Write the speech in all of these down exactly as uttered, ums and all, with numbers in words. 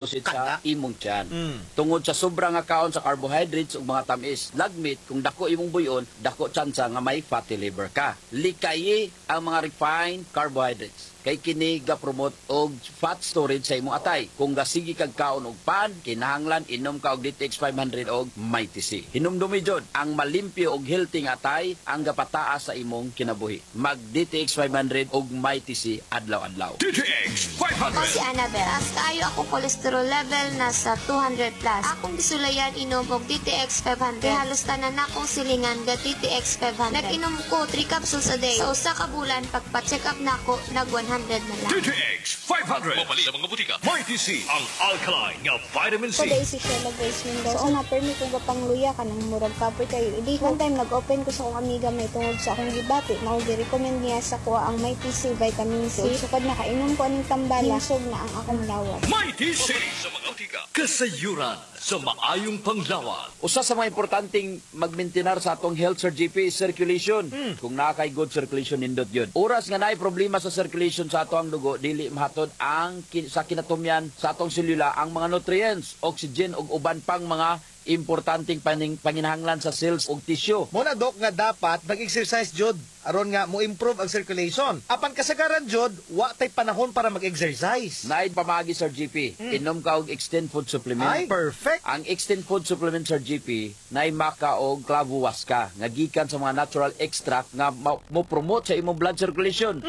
Sa imong tiyan. Mm. Tungod sa sobra nga kaon sa carbohydrates ug mga tamis, lagmit kung dako imong buyon, dako tsansa nga may fatty liver ka. Likayi ang mga refined carbohydrates kay kini ga-promote og fat storage sa imong atay. Kung gasigi kag kaon og pan, kinahanglan inom ka og D T X five hundred og Mighty C. Hinumdumi jud, ang malimpyo og healthy nga atay ang gapataas sa imong kinabuhi. Mag D T X five hundred og Mighty C adlaw-adlaw. D T X Ako five hundred. Si Annabel. Taas kaayo ako cholesterol level, nasa two hundred plus. Akong gisulayan inom og D T X five hundred. Kay halos tanan akong silingan ga D T X five hundred. Nag-inom ko three capsules a day. Sa usa ka bulan, pagpa-check up nako, nag one hundred na lang. D T X five hundred. Mapalit sa mga butika. Mighty C. Ang alkaline nga vitamin C. Ko si Sheila Grace Mendoza. So una, permi ko gapangluya kanang murag kapoy kayo. Idi, one time nag-open ko sa akong amiga may tungod sa akong gibati. Mao gi-recommend niya sa kuha ang Mighty C Vitamin C. Sukad nakainom ko aning tambala, himsog na ang akong lawas. Mighty C. Sa mga butika. Kasayuran sa maayong panglawas. Usa sa mga importanteng magmaintenar sa atong health, Sir G P, is circulation. Kung naa kay good circulation, nindot yun. Oras nga naay problema sa circulation sa ato ang dugo, dili mahatod ang kin- sa kinatumyan sa atong selula ang mga nutrients, oxygen ug uban pang mga importanteng paning, panginahanglan sa cells ug tissue. Mo na, Dok, nga dapat mag-exercise jud aron nga mo improve ang circulation. Apan kasagaran jud wa tay panahon para mag-exercise. Naay pamaagi, Sir G P. Inom ka og Extend Food Supplement. Ay, perfect. Ang Extend Food Supplement, Sir G P, nay maka og clavuwasca nga gikan sa mga natural extract nga ma- mo promote sa imong blood circulation.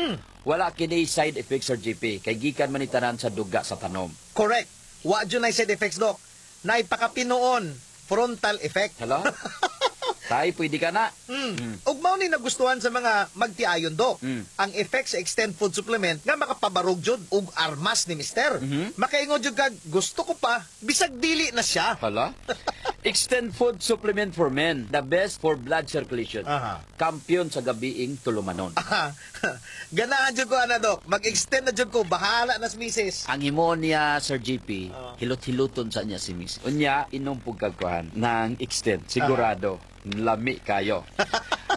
Wala kini side effects, Sir G P, kay gikan man ni tanan sa duga sa tanom. Correct. Wa jud nay side effects, Dok. Naipakapinuon frontal effect. Hello? Tay, pwede ka na. Mm. Ug mao ni nagustuhan sa mga magtiayon, Dok. Mm. Ang effect sa Extend Food Supplement nga makapabarog jud og armas ni mister. Mhm. Makaingon jud kag gusto ko pa bisag dili na siya. Hala? Extend Food Supplement for Men, the best for blood circulation. Aha. Kampiyon sa gabiing tulumanon. Ganahan jud ko ana, Dok. Mag-extend na jud ko, bahala na sa misis. Ang himuon niya, Sir G P, Ah. hilot-hiluton sa niya si Miss. Unya, inom pug kag kuhan ng Extend. Sigurado, lami kayo.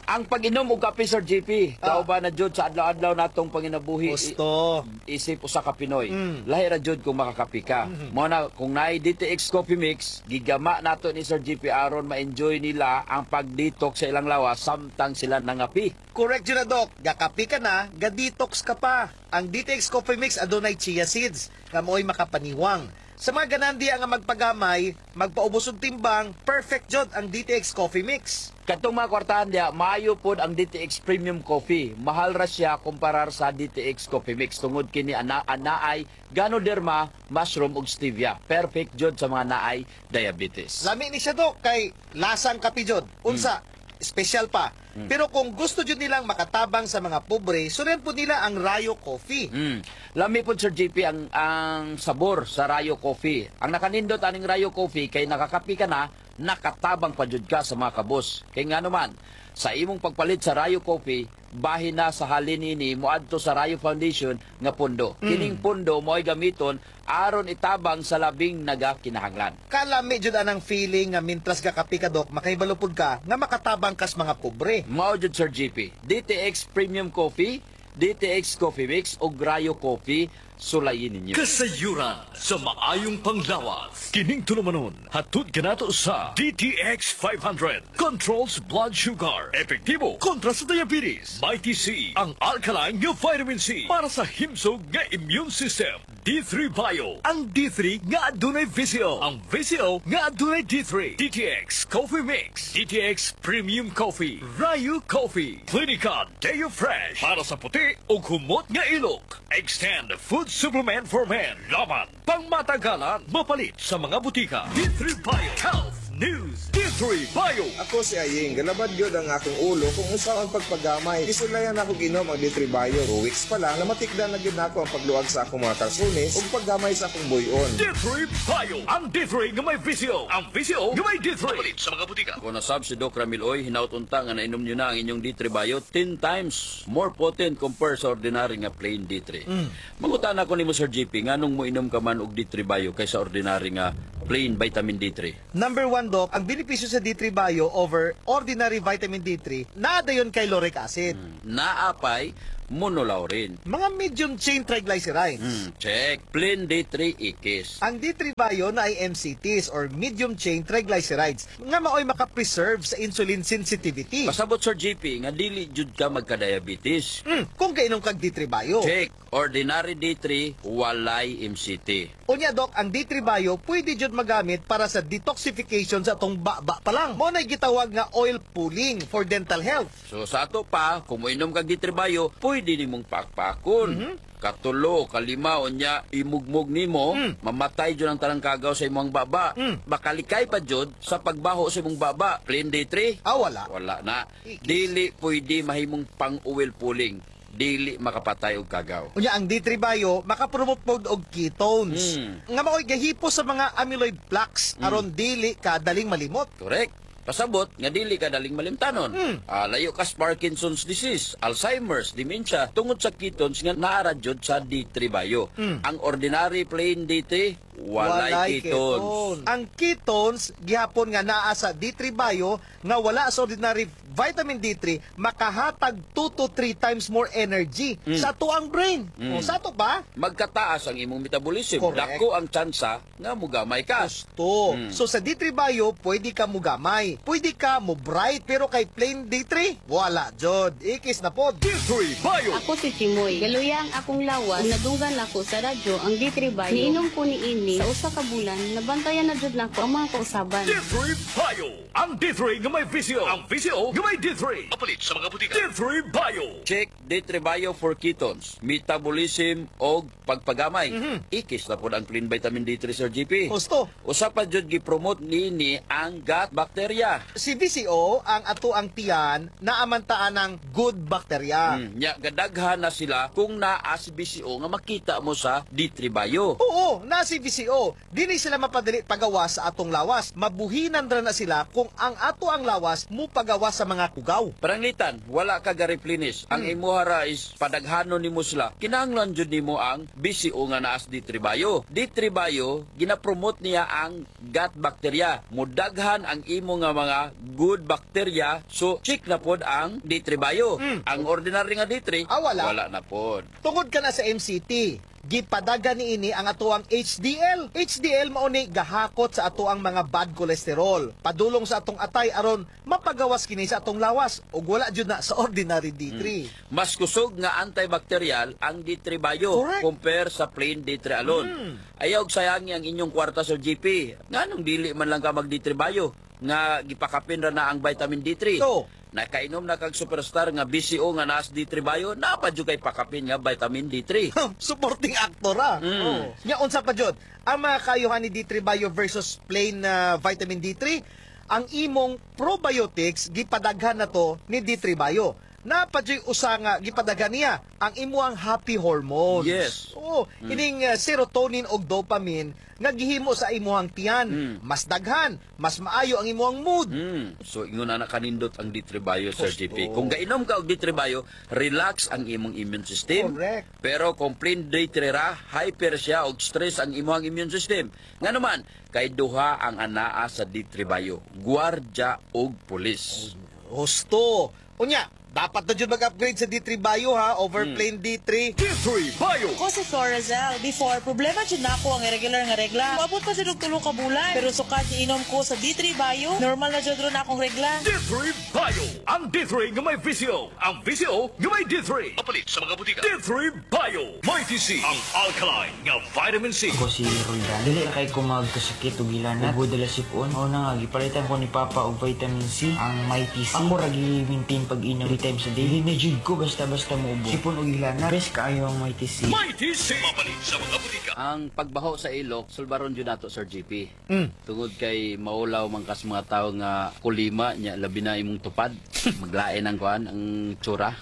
Ang pag-inom og kape, Sir G P, Ah. kauban na jud sa adlaw-adlaw natong panginabuhi. Gusto. Isip usa ka Pinoy. Mm. Lahi ra jud kung makakape ka. Mo na kung naay D T X Coffee Mix, gigama nato ni Sir G P aron ma-enjoy nila ang pag-detox sa ilang lawas samtang sila nangapi. Correct jud na, Dok. Gakapi ka na, ga-detox ka pa. Ang D T X Coffee Mix adunay chia seeds nga mo'y makapaniwang. Sa mga ganahan diya nga magpagamay, magpaubos og timbang, perfect jud ang D T X Coffee Mix. Katong mga kwartahan diya, maayo pod ang D T X Premium Coffee. Mahal ra siya kumparar sa D T X Coffee Mix tungod kini ana anaay Ganoderma, mushroom ug stevia. Perfect jud sa mga naay diabetes. Lami ni siya, Dok, kay lasang kape jud. Unsa? Special pa. Pero kung gusto jud nilang makatabang sa mga pobre, surian po nila ang Rayo Coffee. Mm. Lami pod, Sir G P, ang ang sabor sa Rayo Coffee. Ang nakanindot aning Rayo Coffee kay nakakapi ka na, nakatabang pa jud ka sa mga kabus. Kay nga naman, sa imong pagpalit sa Rayo Coffee, bahin na sa halin ini moadto sa Rayo Foundation nga pondo. Kining pondo mo'y gamiton aron itabang sa labing nagakinahanglan. Kalami jud anang feeling nga mintras gakapi ka, Dok, makahibalo pud ka nga makatabang kas mga pobre. Mao jud, Sir G P. D T X Premium Coffee, D T X Coffee Mix ug Rayo Coffee, sulayin ninyo. Kasayuran sa maayong panglawas. Kining tulumanon, hatod kanato sa D T X five hundred. Controls blood sugar. Epektibo kontra sa diabetes. Mighty C, ang alkaline nga vitamin C para sa himsog nga immune system. D three Bio, ang D three nga adunay V C O. Ang V C O nga adunay D three. D T X Coffee Mix. D T X Premium Coffee. Rayo Coffee. Clinica Deo Fresh. Para sa puti o humot nga ilok. Extend Food Supplement for Men. Laban. Pangmatagalan. Mapalit sa mga butika. D three Bio. Health News. D three Bio. Ako si Aying, galabad gyud ang akong ulo kung unsa ang pagpagamay. Gisulayan ako ginom ang D three Bio. Two weeks pa lang, namatikdan na gyud nako ang pagluag sa akong mga kalsunis ug paggamay sa akong buyon. D three Bio. Ang D three nga may V C O. Ang V C O nga may D three. Mapalit sa mga butika. Kung nasab si Doc Ramil Oy, hinaut unta nga nainom nyo na ang inyong D three Bio, ten times more potent compared sa ordinary nga plain D three. Mm. Mangutan ako nimo, Sir G P, nganong mo inom ka man og D three Bio kaysa ordinary nga plain vitamin D three? Number one, Doc, ang benepisyo sa D three Bio over ordinary vitamin D three, naa dayon kay lauric acid. Naapay Monolaurin. Mga medium chain triglycerides. Hmm, check. Plain D three ikis. Ang D three Bio naay M C Ts or medium chain triglycerides nga maoy makapreserve sa insulin sensitivity. Pasabot, Sir J P, nga dili jud ka magka-diabetes. Hmm, kung kainom kag D three Bio. Check. Ordinary D three, walay M C T. Unya, Dok, ang D three Bio pwede jud magamit para sa detoxification sa atong baba pa lang. Mao na gitawag nga oil pulling for dental health. So sa ato pa, kung moinom kag D three Bio, pwede nimong pakpakon. Katulo, kalima, unya imugmog nimo, mamatay jud ang tanang kagaw sa imong baba. Makalikay pa jud sa pagbaho sa imong baba. Plain D three? Ah, wala. Wala na. Ikis. Dili pwede mahimong pang-oil pulling. Dili makapatay og kagaw. Unya ang D three Bio makapromote pod og ketones. Mm. Nga maoy gahipos sa mga amyloid plaques aron dili ka daling malimot. Correct. Pasabot nga dili ka daling malimtanon. Mm. Ah, layo ka sa Parkinson's disease, Alzheimer's, dementia tungod sa ketones nga naa ra jud sa D three Bio. Ang ordinary plain D three, walay ketones. Ang ketones gihapon nga naa sa D three Bio nga wala sa ordinary vitamin D three makahatag two to three times more energy sa atuang brain. O sa ato pa? Magkataas ang imong metabolism. Correct. Dako ang tsansa nga mugamay ka. To. So sa D three Bio, pwede ka mugamay. Pwede ka mo bright, pero kay plain D three, wala jud. Ikis na pod. D three Bio. Ako si Chimoy. Galuya ang akong lawas. Ug nadunggan nako sa radyo ang D three Bio. Niinom ko niini sa usa ka bulan, nabantayan na jud nako ang mga kausaban. D three Bio. Ang D three nga may V C O. Ang V C O nga may D three. Mapalit sa mga butika. D three Bio. Check D three Bio for ketones, metabolism og pagpagamay. Ikis na pod ang plain vitamin D three, Sir J P. Husto. Usa pa jud gi-promote niini ang gut bacteria. Si V C O, ang ato ang tiyan, naamantaan ng good bacteria. Mm, nya gadaghan na sila kung naa si V C O nga makita mo sa D three Bio. Oo, na si V C O. Dili sila mapadali pagawa sa atong lawas. Mabuhinan ra na sila kung ang ato ang lawas mo pagawa sa mga kugaw. Paranglitan, wala ka ga-replenish. Ang imuha ra is padaghanon nimo sila. Kinahanglan jud nimo ang V C O nga naa sa D three Bio. D three Bio, gina-promote niya ang gut bacteria. Mudaghan ang imo nga mga good bacteria. So, check na pod ang D three Bio. Ang ordinary nga D three, Ah, wala. wala na pod. Tungod ka na sa M C T, gipadagan ni ini ang atoang H D L. H D L mao ni gahakot sa atoang mga bad cholesterol. Padulong sa atong atay aron mapagawas kini sa atong lawas ug wala jud na sa ordinary D three. Mas kusog nga antibacterial ang D three Bio Correct. compare sa plain D three alone. Ayaw og sayangi ang inyong kwarta, Sir J P. Nganong dili man lang ka mag D three Bio nga gipakapin ra na ang vitamin D three? So, Nakainom na kag superstar nga V C O nga naas D three Bio, naa pa jud kay pakapin nga vitamin D three. Supporting actor ah. Mm. Oo. Nya unsa pa jud? Ang mga kayuhan ni D three Bio versus plain na vitamin D three, ang imong probiotics gipadaghan na to ni D three Bio. Naa pa juy usa nga gipadaghan niya, ang imuang happy hormones. Yes. Oo, ining uh, serotonin og dopamine nga gihimo sa imuhang tiyan. Mm. Mas daghan, mas maayo ang imuhang mood. Mm. So ingon na kanindot ang D three Bio, Sir Husto. J P. Kung gainom ka og D three Bio, relax ang imong immune system. Correct. Pero kung plain D three ra, hyper siya og stress ang imong immune system. Nga naman, kay duha ang anaa sa D three Bio, gwardya og pulis. Husto. Unya, dapat na jud mag-upgrade sa D three Bio ha over plain D three. D three Bio. Ako si Florazel. Before, problema jud nako ang irregular nga regla. Moabot pa jud og tulo ka bulan. Pero sukad inom ko sa D three Bio, normal na jud ron akong regla. D three Bio. Ang D three nga may V C O. Ang V C O nga may D three. Mapalit sa mga butika. D three Bio. Mighty C. Ang alkaline nga vitamin C. Ako si Roldan. Dili na kay ko magkasakit og hilanat. Ubo dala sipon. Mao na nga gipalitan ko ni Papa og vitamin C, ang Mighty C. Ako ra gi-maintain pag-inom three times a day. Dili na jud ko basta-basta mo ubo. Sipon og hilanat. Best kaayo ang Mighty C. Mighty C. Mapalit sa mga butika. Ang pagbaho sa ilok, sulbaron jud nato, Sir J P. Mm. Tungod kay maulaw man kas mga tao nga kulima nya, labi na imong tupad. Maglain ang kuan, ang tsura.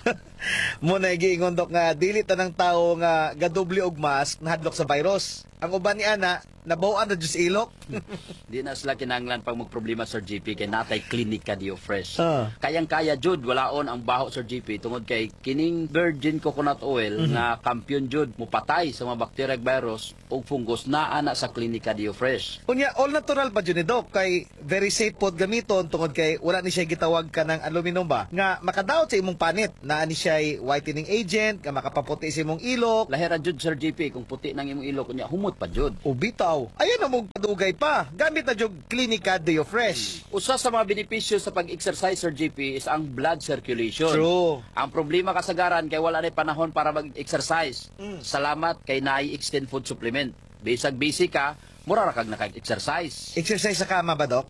Mao na giingon, Dok, nga dili tanang tao nga gadoble og mask nahadlok sa virus. Ang uban ni ana nabaw-an na jud sa ilok. Di na sila kinahanglan pag magproblema, Sir J P, kay natay Klinika Dio Fresh. Ah. Kayang-kaya jud walaon ang baho, Sir J P, tungod kay kining virgin coconut oil nga kampiyon jud mupatay sa mga bacteria, virus ug fungus naa na sa Klinika Dio Fresh. Unya all natural pa jud ni Doc kay very safe pod gamiton tungod kay wala ni siya gitawag kanang aluminum ba nga makadaot sa imong panit. Naa ni siya siya whitening agent nga makapaputi sa imong ilok. Lahera jud, Sir J P, kung puti nang imong ilok unya humot pa jud. O bitaw, ayan na mong padugay pa. Gamit na jud Klinika Deo Fresh. Usa sa mga benepisyo sa pag-exercise, Sir J P, is ang blood circulation. True. Ang problema kasagaran kay wala na panahon para mag-exercise. Mm. Salamat kay naay Extend Food Supplement. Bisag busy ka, mura ra kag naka-exercise. Exercise sa kama ba, Dok?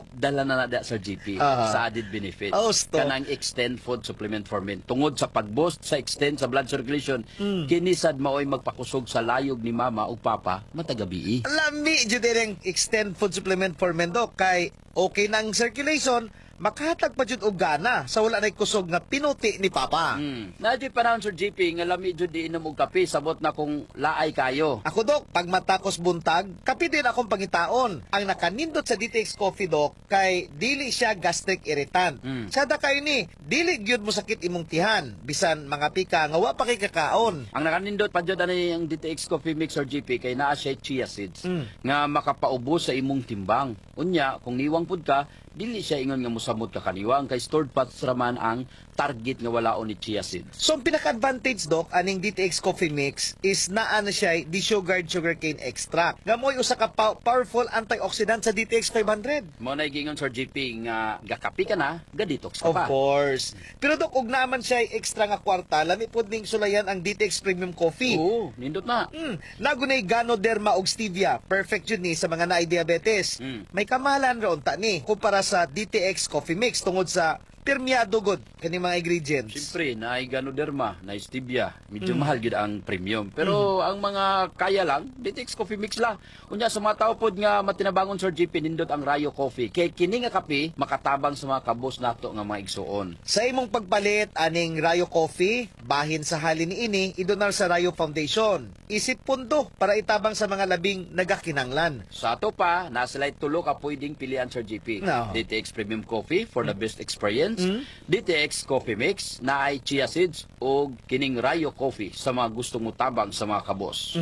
Dala na na da, Sir J P, Aha. sa added benefits. Oh, sto. Kanang Extend Food Supplement for Men. Tungod sa pag-boost sa extend sa blood circulation, Mm. kini sad maoy magpakusog sa layog ni mama ug papa matag gabii. Lami jud ang Extend Food Supplement for Men, Dok, kay okay na ang circulation, makahatag pa jud og gana sa wala nay kusog nga pinuti ni papa. Mm. Naa juy panahon, Sir J P, nga lami jud inom og kape, sabot na kung laay kayo. Ako, Dok, pag matakos buntag, kape din akong pangitaon. Ang nakanindot sa D T X Coffee, Dok, kay dili siya gastric irritant. Mm. Sada kayo ni, dili gyud mo sakit imong tihan, bisan mga pika nga wa pa kay kakaon. Ang nakanindot pa jud ani ang D T X Coffee Mix, Sir J P, kay naa siya chia seeds Mm. nga makapaubos sa imong timbang. Unya, kung niwang pud ka, dili siya ingon nga mosamot ka kaniwang kay stored fats raman ang target nga walaon ni chia seeds. So, ang pinaka-advantage, Dok, aning D T X Coffee Mix is naa na siya desugared sugarcane extract. Nga mo'y usa ka pow- powerful antioxidant sa D T X five hundred. Mao na gingon, Sir J P, nga gakapi ka na, ga-detox ka Of pa. course. Pero Dok, og naman siya extra nga kwarta, lami pod ning sulayan ang D T X Premium Coffee. Oo, nindot na. Mm, nagunay Ganoderma og stevia. Perfect yun ni sa mga naay diabetes. Mm. May kamahalan ra unta ni kumpara sa D T X Coffee Mix tungod sa pirmiyado gud kani mga ingredients. Siyempre, naay Ganoderma, naay stevia. Medyo mahal gyud ang premium. Pero ang mga kaya lang, D T X Coffee Mix lang. Unya sa mga tao pod nga matinabangon, Sir J P, nindot ang Rayo Coffee. Kay kini nga kape makatabang sa mga kabos nato nga mga igsuon. Sa imong pagpalit aning Rayo Coffee, bahin sa halin niini idonar sa Rayo Foundation. Isip pundo para itabang sa mga labing nagakinanglan. Sa ato pa, nasa sila'y tulo ka pwedeng pilian, Sir J P. No. D T X Premium Coffee for the best experience, D T X Coffee Mix na ay chia seeds o kining Rayo Coffee sa mga gustong mutabang sa mga kabos.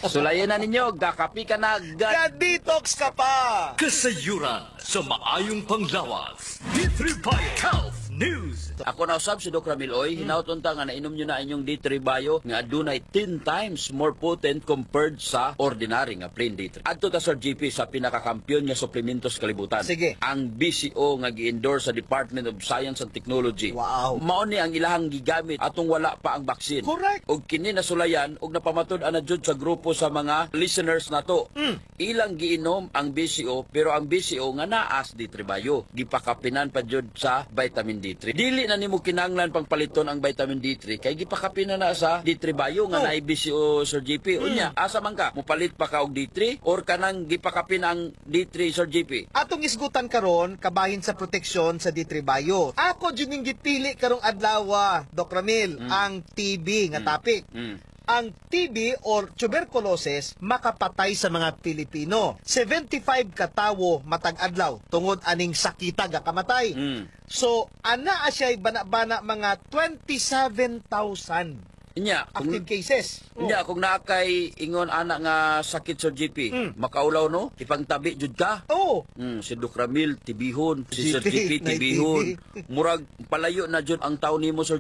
Sulayan na ninyo, gakapi ka na, ga Ga-detox ka pa! Kasayuran sa maayong panglawas. D three Bio Health News. Ako na usab si Doc Ramil Oy, hinaut unta nga nainom nyo na inyong D three Bio nga adunay ten times more potent compared sa ordinary nga plain D three. Adto ta, Sir J P, sa pinakakampiyon nga suplemento sa kalibutan. Sige. Ang B C O nga gi-endorse sa Department of Science and Technology. Wow. Mao ni ang ilahang gigamit atong wala pa ang vaccine. Correct. Og kini nasulayan og napamatud ana jud sa grupo sa mga listeners nato. Mm. Ilang giinom ang B C O pero ang B C O nga naas D three Bio. Gipakapinan pa jud sa vitamin D three. Dili na nimo kinahanglan pang paliton ang vitamin D three kay gipakapinan na sa D three Bio nga Oh. naay B C O, Sir J P. Unya, asa man ka? Mupalit pa ka og D three or kanang gipakapin ang D three, Sir J P? Atong isgutan karon kabahin sa proteksyon sa D three Bio. Ako jud ning gipili karong adlaw, Doc Ramil, ang T B nga topic. Mm. Ang T B or tuberculosis makapatay sa mga Pilipino. seventy-five katawo matag adlaw tungod aning sakita gakamatay. Mm. So, ana siya bana-bana mga twenty-seven thousand Inya, kung active cases. Oh. Unya, kung naa kay ingon ana nga sakit, Sir J P, Mm. makaulaw no, ipangtabi jud ka. Oh, Mm, si Doc Ramil, tibihon. Si Sir G P, J P, tibihon. Murag, palayo na jud ang tao nimo, Sir.